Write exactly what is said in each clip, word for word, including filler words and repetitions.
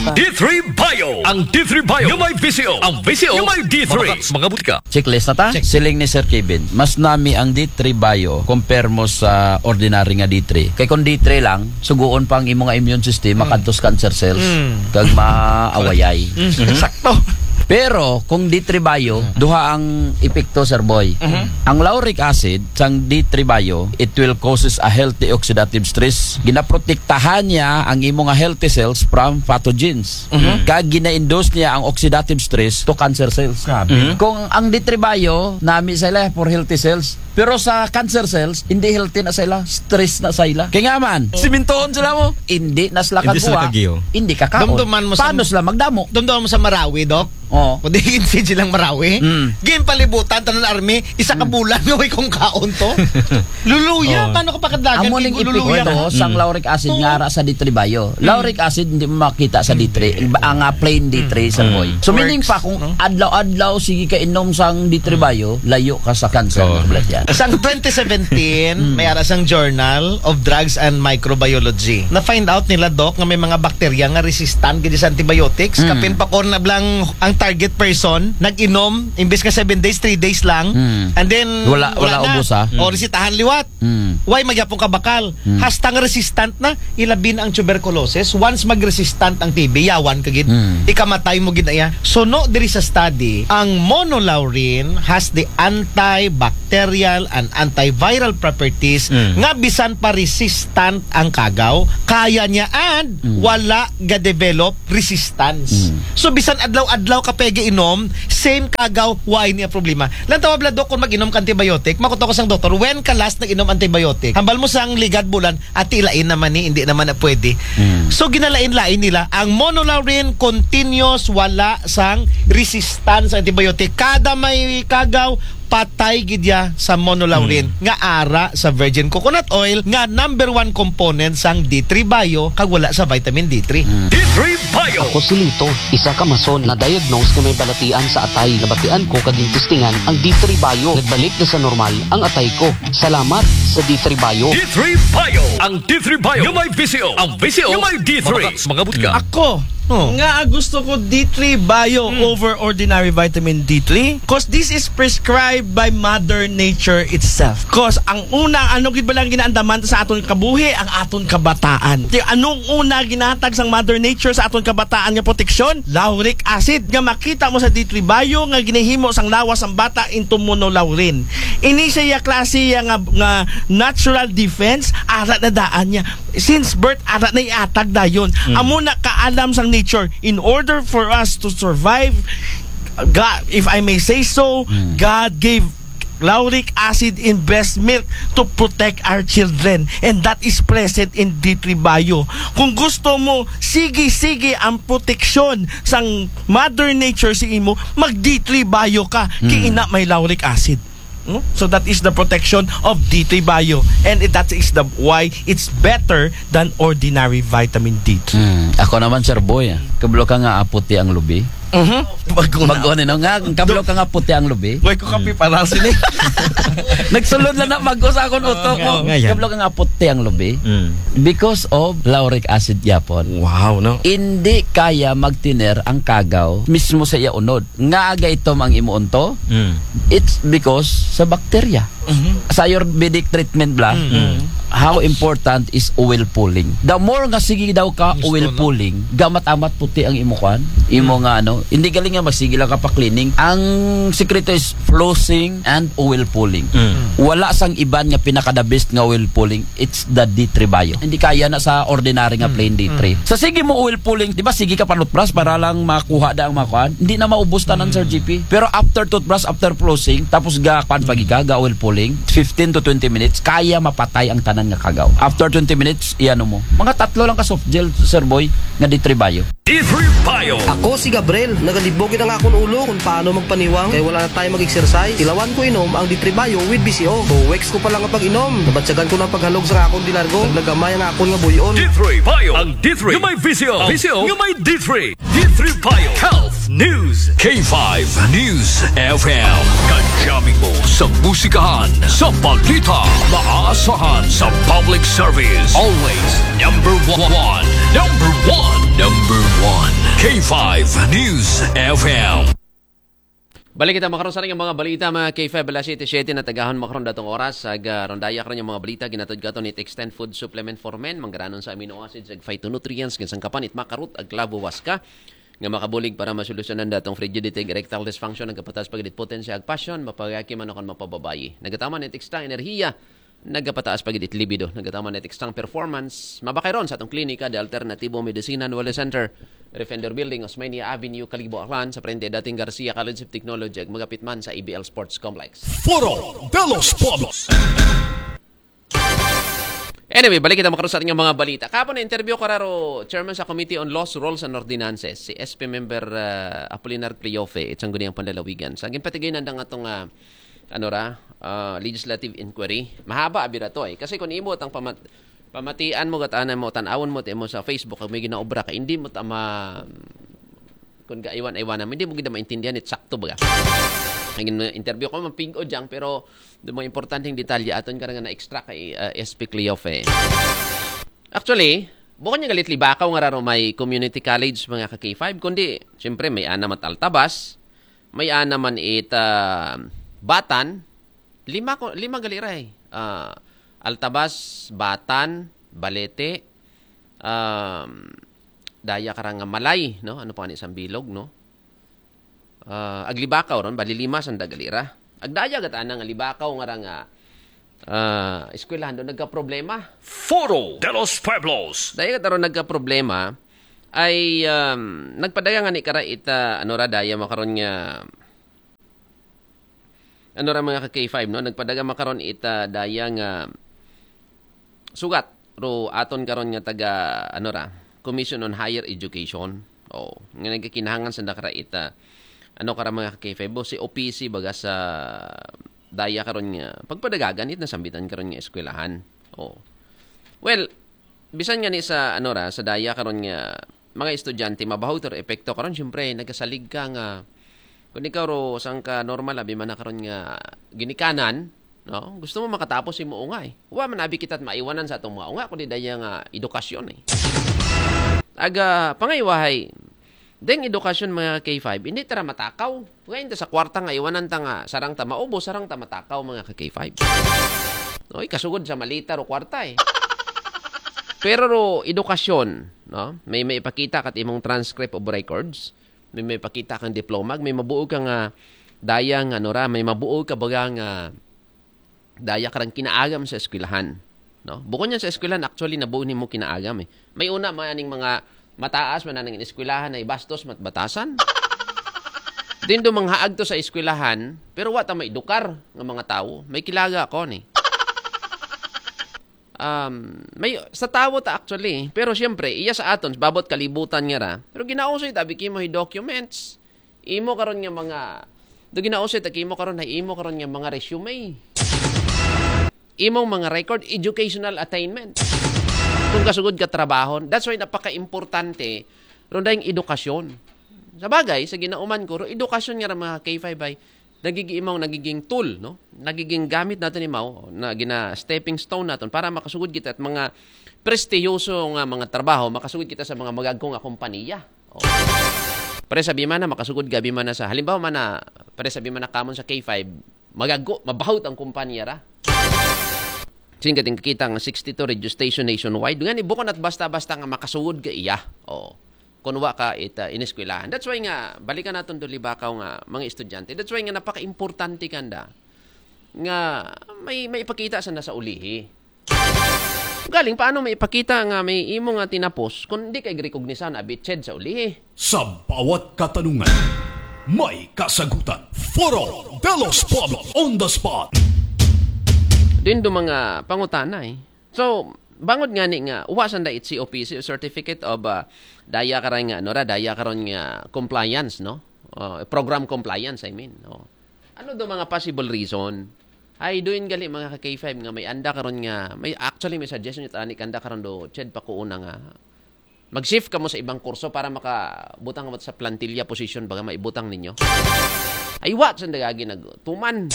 D three Bio. Ang D three Bio nga may V C O. Ang V C O nga may D three. Mga, mga butika. Checklist na ta? Check. Siling ni Sir Kevin, mas nami ang D three Bio compare mo sa ordinary nga D three. Kay kung D three lang, suguon pa ang imo nga immune system, makadtos cancer cells, kag maawayay. Sakto. Pero kung D three Bio, duha ang epekto, Sir Boy. Ang lauric acid sang D three Bio, it will causes a healthy oxidative stress. Ginaprotektahan niya ang imo nga healthy cells from pathogens. Kag gina-induce niya ang oxidative stress to cancer cells. Kung ang D three Bio, nami sila for healthy cells. Pero sa cancer cells, hindi healthy na sila, stress na sila. Kaya nga man, simintoon sila mo, hindi na sila kaguwa, hindi ka kaon. Dumduman mo sa, paano sila magdamo? Dumduman mo sa Marawi, Doc? Oh. Kung di silang Marawi, mm, game palibutan, tanan army, isa ka bulan nga way kung kaon to. Luluya, oh, paano ka pakadlagan? Amo ning epekto sang lauric acid nga ara sa D three Bio. Lauric acid hindi mo makita sa D three, ang ah, plain D three sa boy. So meaning pa kung adlaw-adlaw sige ka inom sang D three Bio, layo ka sa cancer. Oh. Yan. Sang twenty seventeen, may ara sang Journal of Drugs and Microbiology. Na-find out nila, Doc, nga may mga bakterya nga resistant gid sa antibiotics. Kapin pa ko na blang ang target person nag-inom imbes nga seven days, three days lang. And then wala, wala na. Ubos, ah. O resitahan liwat. Why magyapon ka bakal? Hasta nga resistant na, ilabi na ang tuberculosis. Once mag-resistant ang T B, yawan ka gid. Ikamatay mo gid na iya. Suno diri sa study, ang monolaurin has the antibacterial and antiviral properties nga bisan pa resistant ang kagaw, kaya niya and wala ga-develop resistance. So bisan adlaw-adlaw ka pwede inom, same kagaw, why niya problema? Lantawa bla, Doc, kung mag-inom ka antibiotic, makuto ko sang doktor, when ka last nag-inom antibiotic? Hambal mo sang ligad bulan, ati lain naman ni, hindi naman na pwede. So ginalain-lain nila ang monolaurin, continuous, wala sang resistance sa antibiotic. Kada may kagaw, patay gid ya sa monolaurin nga ara sa virgin coconut oil nga number one component sang D three Bio kag wala sa vitamin D three. D three Bio. Ako si Lito, isa ka mason na diagnose nga may balatian sa atay. Nabatian ko kag testingan ang D three Bio. Nagbalik na sa normal ang atay ko. Salamat sa D three Bio. D three Bio. Ang D three Bio nga may V C O. Ang V C O nga may D three. Mga, mga butika. Ako, oh, nga gusto ko D three Bio over ordinary vitamin D three, 'cause this is prescribed by Mother Nature itself. 'Cause ang una, ano gid ba lang ginaandaman sa aton kabuhi? Ang aton kabataan. Ti anong una ginatag sang Mother Nature sa aton kabataan nga proteksyon? Lauric acid nga makita mo sa D three Bio nga ginahimo sang lawas sang bata into monolaurin. Ini siya klase ya nga, nga natural defense, ara na daan niya. Since birth, ara na iatag dayon. Amo na kaalam sang nature. In order for us to survive, God, if I may say so, God gave lauric acid in breast milk to protect our children. And that is present in D three Bio. Kung gusto mo, sige-sige ang proteksyon sang Mother Nature sa imo, mag D three Bio ka. Kay ina may lauric acid. No? So that is the protection of D three Bio, and it, that is the why it's better than ordinary vitamin D three. Hmm. Ako naman, Sir Boy, ah. Kablo ka nga aputi ang lubi. Mhm. Bago na. Bago ni, no? Nga, kablo ka nga puti ang lubi. Boy, ko kape para sini. Nagsulod lang na bago sa akong utok mo. Nga, nga yan. Kablo ka nga puti ang lubi. Mm. Because of lauric acid yapon. Wow, no? Hindi kaya magtiner ang kagaw mismo sa iya unod. Nga aga itom ang imo unto, mm, it's because sa bakterya. Mhm. Sa Ayurvedic treatment bla, mm, how important is oil pulling. The more nga sige daw ka oil pulling, gamat-amat puti ang imo kwan, imo nga ano, hindi galing nga magsige lang ka pa cleaning. Ang sikreto is flossing and oil pulling. Mm. Wala sang iban nga pinaka the best nga oil pulling. It's the D three Bio. Hindi kaya na sa ordinary nga plain D three. Sa sige mo oil pulling, di ba sige ka panutbras para lang makuha da ang makuan? Hindi na maubos tanan, Sir G P. Pero after toothbrush, after flossing, tapos ga kuan pagi ka, ga oil pulling, fifteen to twenty minutes, kaya mapatay ang tanan nga kagaw. After twenty minutes, iano mo. Mga tatlo lang ka soft gel, Sir Boy, nga D three Bio. D three Bio. Ako si Gabriel. Nagalibog na nga akong ulo kung paano magpaniwang kay wala na tayo mag-exercise. Ilawan ko inom ang D three Bio with B C O. Two weeks ko pa lang ang pag-inom. Nabatyagan ko ng paghalog sa akong dilargo. Naglagamay ang akon nga buyon. D three Bio. Ang D three nga may V C O. V C O nga may D three. D three Bio. Health News. K five News F M. Kadyami mo sa musikahan, sa balita, maasahan sa Public service, always number one. Number one. Number one. K five News F M. Balik kita makaron sa mga balita, mga K five, alas siyete, siyete na tagahon makaron datong oras. Ag, ah, rondaya karon yung mga balita, ginatod kato ni Extend Food Supplement for Men, manggaranon sa amino acids, ag phytonutrients, ginsangkapan it makarot, ag labuwas ka, nga makabulig para masolusyonan datong frigidity, erectile dysfunction, nagkapataas pagidit potensiya, ag passion, mapagaki man o kon mapababayi. Nagataman it extra enerhiya, nagapataas pagidit libido, nagataman it extra performance. Mabakay ron sa atong klinika, The Alternativo Medicina and Wellness Center, Refender Building, Osmeña Avenue, Kalibo, Aklan, sa frente dating Garcia College of Technology, ag magapit man sa A B L Sports Complex. Foro de los Pueblos. Anyway, balik kita makaron sa ating mga balita. Kapon na interview ko raro, chairman sa Committee on Laws, Rules and Ordinances, si S P member ah, Apolinar Cleofe, itsang guniang panlalawigan. Sa ginpatigay nandang atong ah, ano ra, ah, legislative inquiry. Mahaba abira to eh. Kasi kung imo tang pamat pamatian mo, gatanan mo, tanawon mo, ti mo sa Facebook, kung may ginaobra ka, hindi mo tama kung gaiwan-iwanan mo, hindi mo gid maintindihan it sakto baga. Ang interview ko, mapingo dyan, pero do mga importanteng detalye aton ka nga na-extract kay ah, S P Cleofe. Actually, bukod niya galit libakaw nga raro may community college, mga ka K five, kundi, siyempre, may ana man Altabas, may ana man it ah, Batan, lima, ko- lima gali ra eh. Ah, Altabas, Batan, Balete, um, daya karang Malay, no? Ano pa ni isang bilog, no? Ah, ag libakaw ron, bali lima sanda gali ra. Ag daya gatanan nga libakaw nga ra nga ah, eskwelahan do nagkaproblema. Foro de los Pueblos. Daya gataron nagkaproblema ay um, nagpadaga nga ni kara ita ano ra daya makaron nga ano ra mga ka K five, no? Nagpadaga makaron ita daya nga sugat ro aton karon nga taga ano ra, Commission on Higher Education. Oh, nga nagkakinahangan sa nakara ita ano kara mga ka K five, si O P C baga sa daya karon nga pagpadagagan it nasambitan karon nga eskwelahan. Oh. Well, bisan nga ni sa ano ra sa daya karon nga mga estudyante mabaho ito epekto karon, syempre nagasalig ka nga kung ikaw ro sang ka normal abi man na karon nga ginikanan, no? Gusto mo makatapos imo ungay. Wa man abi kita maiwanan sa atong mga unga kundi daya nga edukasyon eh. Aga pangaywahay deng edukasyon mga K five, hindi tara matakaw. Ngayon ta sa kwarta nga iwanan ta nga sarang ta maubos, sarang ta matakaw mga ka K five. No, ikasugod sa malita ro kwarta eh. Pero ro edukasyon, no? May may ipakita kat imong transcript of records, may may ipakita kang diploma, may mabuo ka nga daya nga ano ra, may mabuo ka baga nga daya karang kinaagam sa eskwelahan. No? Bukod niya sa eskwelahan, actually, nabuo nimo kinaagam eh. May una, may aning mga mataas, man aning eskwelahan ay bastos, matbatasan. Din do mga haag to sa eskwelahan, pero wa ta maedukar nga mga tawo. May kilaga ako ni. Um, may sa tawo ta actually, pero siyempre, iya sa aton, babot kalibutan nga ra. Pero ginausoy tabi kimo hi documents. Imo karon nga mga do ginausoy ta kimo karon ay imo karon nga mga resume. Imong mga record, educational attainment. Kung kasugod ka trabaho, that's why napaka-importante ron dahil edukasyon. Sa bagay, sa ginauman ko, ro edukasyon nga ra mga K five ay nagiging imong nagiging tool, no? Nagiging gamit natin imaw na gina stepping stone natin para makasugod kita at mga prestiyoso nga mga trabaho, makasugod kita sa mga magagko nga kompanya. Oh. Pre sabi man na makasugod gabi man na sa halimbawa man na pre sabi man na kamon sa K five, magagko, mabahot ang kompanya ra. Sin kating kakita nga sixty-two radio station nationwide. Nga ni bukon at basta-basta nga makasugod ka iya. Oh. Kung wa ka ita ineskwelahan. That's why nga balikan naton do libakaw nga mga estudyante. That's why nga napaka-importante kanda nga may may ipakita sa nasa ulihi. Galing paano may ipakita nga may imo nga tinapos kung di kay recognize na abitched sa ulihi. Sa bawat katanungan, may kasagutan. Foro de los Pueblos on the spot. Din do mga pangutana eh. So, bangod nga ni nga uwa sanda it C O P C, Certificate of uh, daya karon nga ano ra, daya karon nga compliance, no? Uh, program compliance, I mean. No? Ano do mga possible reason? Ay doon gali mga ka K five nga may anda karon nga may actually may suggestion it ani kanda karon do ched pa ko una nga mag-shift ka mo sa ibang kurso para makabutang ka mo sa plantilla position baga maibutang ninyo. Ay wa sa dagagi nagtuman.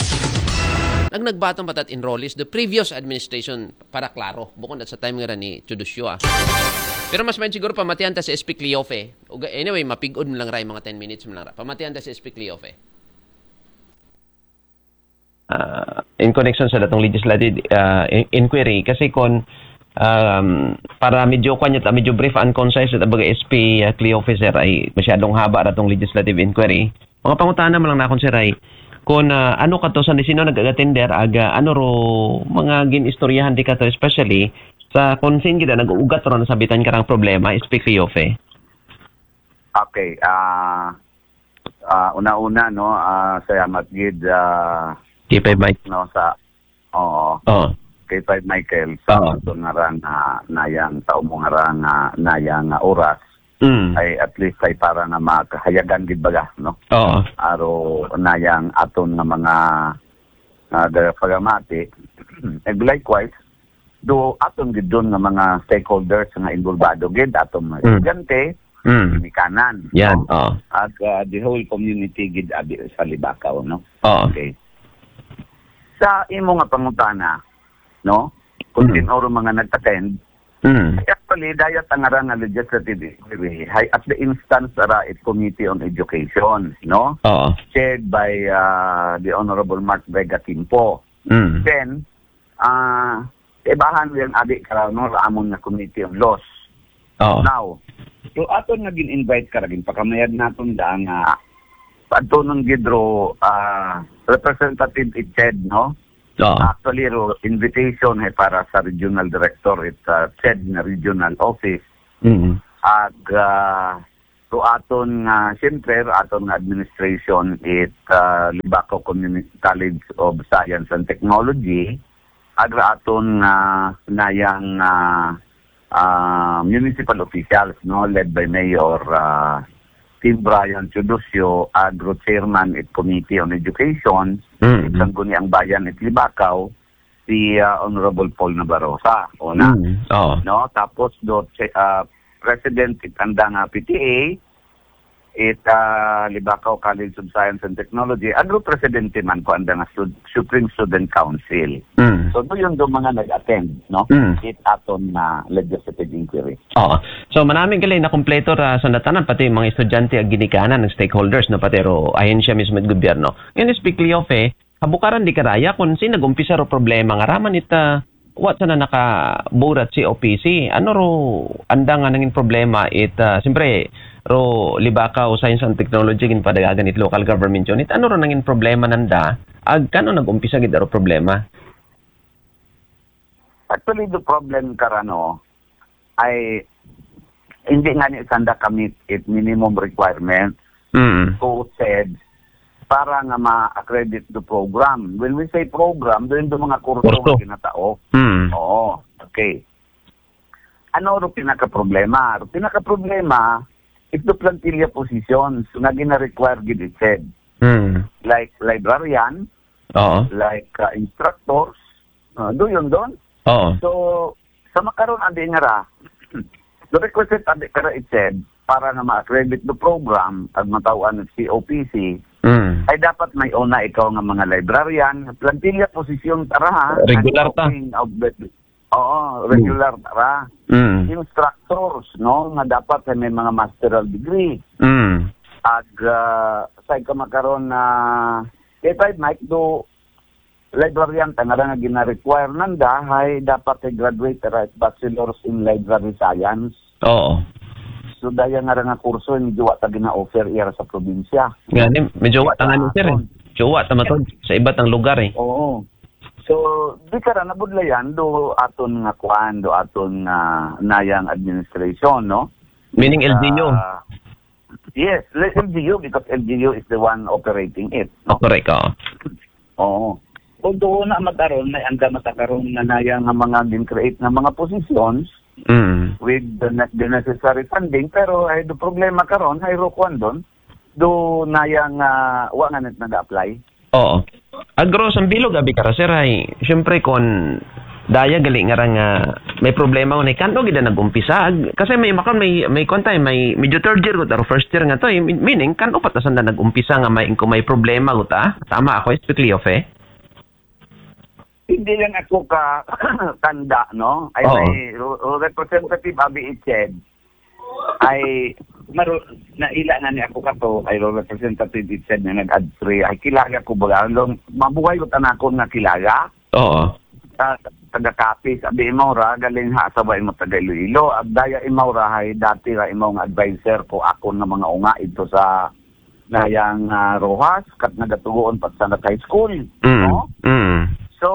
Nag nagbaton pa tat enrollees the previous administration para klaro. Bukon dat sa time nga ra ni Teodosio, ah. Pero mas main siguro pamatian ta si S P Cleofe. Uga, anyway, mapigod mo lang ra, mga ten minutes mo lang ra. Pamatian ta si S P Cleofe. Ah, in connection sa datong legislative, ah, in- inquiry, kasi kon, um, para medyo kwan yata, medyo brief and concise yata baga S P, ah, Cleofe, sir, ay masyadong haba datong legislative inquiry. Mga pangutana mo lang nakon, sir, ay kon, ah, ano kato sa sino nag-attender, aga, ano ro mga gin-istoryahan di kato, especially sa kung sin gida nag-uugat ro na sabitan karang problema, S P Cleofe. Okay, ah ah, una-una, no, ah, salamat gid, ah, K five Mike. No, sa, oo, Oh. K five Michael, sa Oo. Aton nga ra nga nayang tao mo nga ra nga nayang nga oras, Mm. ay at least ay para nga makahayagan gid baga, no? Oo. Aro nayang aton nga mga, ah, dara pagamati. And likewise, do aton gid doon nga mga stakeholders nga involvado gid, aton mga Mm. estudyante, Mm. ginikanan, Yan, no? Oo. Ag, ah, the whole community gid abi sa Libakaw, no? Oo. Okay. Sa imo nga pangutana, no? Kung Mm. sino ro mga nag-attend, Mm. actually, dayat ang ara nga legislative inquiry, hay at the instance ara it Committee on Education, no? Oo. Chaired by, ah, the Honorable Mark Vega Quimpo. Mm. Then, ah, ibahan yung abi kara, no, amon nga Committee on Laws. Oo. Now, so aton nga gin-invite kara, ginpakamayad naton da nga adto nang gid ro, ah, representative it CHED, no? Oo. Actually, ro invitation ay para sa regional director it, ah, CHED na regional office. Mm. Ag, ah, ro aton nga, siyempre, ro aton nga administration it, ah, Libakaw Communi- College of Science and Technology, ag ro aton nga nayang, ah, ah, municipal officials, no, led by Mayor, ah, Tim Brian Teodosio, ag ro chairman it Committee on Education, Mm. Sangguniang Bayan it Libakaw, si, ah, Honorable Paul Nabarosa, una. Mm. Oo. No, tapos do, ah, president it anda nga P T A, it, ah, Libakaw College of Science and Technology, ag ro presidente man ko anda nga stud- Supreme Student Council. Mm. So, do yun do mga nag-attend, no? Mm. It aton na legislative inquiry. Oo. So, manami gali na kompleto ra sa natanan, pati mga estudyante ag ginikanan, ng stakeholders, no, pati ro ahensya mismo it gobyerno. Ngayon, S P Cleofe, habukaran di karaya kung sin nag-umpisa ro problema nga raman it, ah, what sana nakaburat si O P C. Ano ro anda nga nangin problema it, ah, siyempre, ro Libakaw Science and Technology ginpadagagan it local government unit. Ano ro nangin problema nanda? Ag kano nag-umpisa gid aro problema? Actually, the problem karano ay hindi nga ni sanda kamit it minimum requirement Mm. to CHED para nga ma-accredit the program. When we say program, doon do mga kurso Kurso. Nga ginatao. Mm. Oo. Okay. Ano ro pinaka-problema? Ro pinaka-problema, ito plantilla positions nga gina-require gid it CHED. Mm. Like librarian, Oo. like uh, instructors, uh, do yun doon. Oo. So, sa makaron andi nga ra, the requisite andi ka ra it CHED para nga ma-accredit the program ag mataw-an it C O P C, Mm. ay dapat may una ikaw nga mga librarian, plantilla posisyon tara ha. Regular ta. Ang talking of the- Oo, regular tara. Mm. Instructors, no, nga dapat ay may mga masteral degree. Mm. Ag uh, sa kamakaron na K five Mike do librarian ta nga ra nga gina-require nanda hay dapat ay graduate ra it bachelor's in library science. Oo. So daya nga ra nga kurso medyo wa ta gina-offer iya ra sa probinsya. Ngani, medyo wa ta nga ni, sir, eh. Medyo wa ta matod sa iba tang lugar, eh. Oo. So di ka ra nabudlayan do aton nga kuan, do aton nga nayang administration, no? Meaning L G U. Ah, yes, like L G U because L G U is the one operating it, Oh, no? correct, oo. Oo. Kung doon na makaron, may anda matakaron na naya nga mga din-create nga mga positions Mm. with the, ne- the necessary funding, pero ay do problema karon, ay ro kuan doon, do naya nga wa nga net nag-apply. Oo. Agro, sa bilog abi ka ra, sir, ay, siyempre, kon daya gali nga ra nga may problema, unay, kano gid na nag-umpisa? Ag- Kasi may makon, may, may kuwan tayo, may medyo third year gud, or first year nga to, eh. Meaning, kano pa ta sanda nag-umpisa nga may, kung may problema gud, ah? Tama ako, strictly off, eh? Hindi lang ako ka tanda, no? Ay, Oo. May ru-, ru-, representative Abi Iched. Ay, maru-, naila na ni ako kato, ay ru-, representative Iched na nag-ad free. Ay, kilala ko ba? Long, mabuhay ko tanakon nga kilala. Oo. Sa taga Capiz, abi mo ra, galing ha, sa mo taga Iloilo. Ag daya imaw ra, hay dati ra imaw nga advisor ko akon nga mga unga ito sa Nayang, ah, Rojas, kat nagatugoon pa sa high school. Mm. No? Mm. So,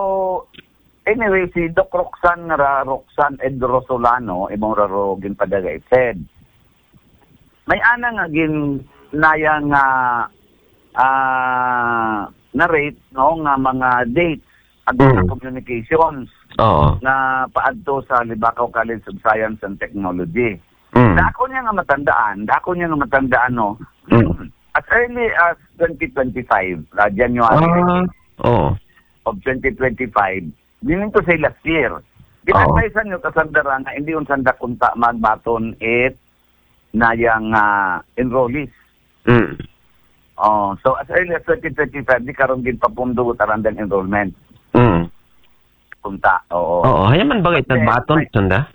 anyway, si Doc Roxanne nga ra, Roxanne Edro Solano, imong ra ro ginpadala i Fed. May ana nga gin, nayang, ah, ah, narrate, no, nga mga dates, ag Mm. communications Oo. nga paadto sa Libacao College of Science and Technology. Mm. Dako niya nga matandaan, dako niya nga matandaan, no? Mm. As early as twenty twenty-five, uh, January Ah, oo. of twenty twenty-five, dinin to say last year. Oo. Ginadvisean nyo kasandara nga hindi unsanda kunta magbaton it nayang, ah, enrollees. Mm. Oh, so as early as twenty twenty-five, di karon ginpapundo tarandang enrollment. Mm. Kunta, oo. Oo, haya man bagay But then, nagbaton, may sanda?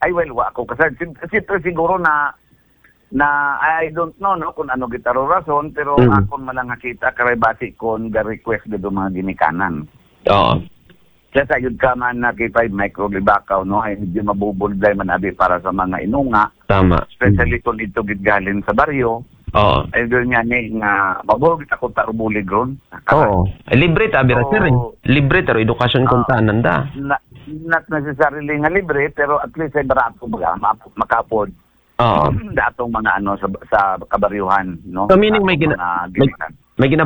Ay, well, wa ako kasal. Sim-, siyempre siguro na, na, I don't know, no, kung ano gitaro rason, pero Mm. akon man lang nakita, karay basi kon ga-request dito mga ginikanan. Oo. Kaya sa yun ka man na kay five micro libakaw, no, ay medyo mabubulday man abi para sa mga inunga. Tama. Especially Mm. kung ito gitgalin sa baryo. Oo. Ay doon nga ni nga mabuhog ako tarubulig ron. Oo. Eh, libre ta, bira, sir, eh. Oo. Libre ta, ro, edukasyon Oo. kung tanan da. Na-, not necessarily nga libre, pero at least ay barato baga, ma-, maka-afford. Oo. Datong mga ano sa, sa kabaryuhan, no? So, meaning may Datong gina-, mga may, ginikan. may gina-